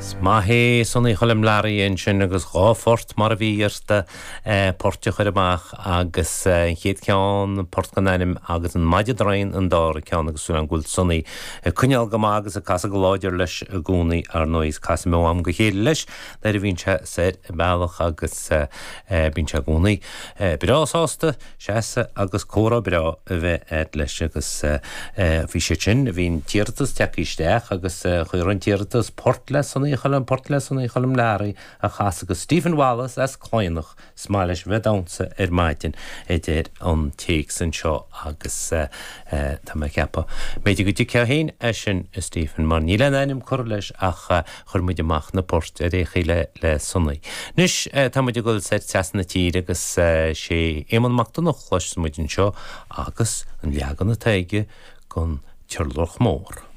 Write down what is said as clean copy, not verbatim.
Is maith é Sonny Choilm Learaí ansin agus 2 phort mar a bhí iarrta, poirt a chur amach agus an chéad cheann, port gan ainm agus an Maide Draighin an dara ceann agus súil agam go bhfuil Sonny ag coinneáil go maith agus ag casadh go láidir leis i gcónaí ar ndóigh is casaim ó am go chéile leis nuair a bhíonn sé soir an bealach agus bíonn sé i gcónaí breá sásta seasamh agus comhrá breá a bheith a'd leis agus bhí siad sin, bhí an t-iarratas tagtha isteach agus chuir an t-iarratas port le Sonny Choilm, port le Sonny Choilm Learaí a chasadh agus Stephen Wallace as Cladhnach, is maith leis a bheith ag damhsa ar maidin a deir an téacs anseo agus tá mé ag ceapadh b'fhéidir go dtuigfeá féin é sin a Stephen mar níl aon ainm curtha leis ach Chuir muid amach na poirt ar aon chaoi le le Sonny. Anois tá muid ag dul soir trasna na tíre agus sé Éamonn Mac Donncha a chloisfeas muid anseo agus an leagan atá aige den Turlach Mór.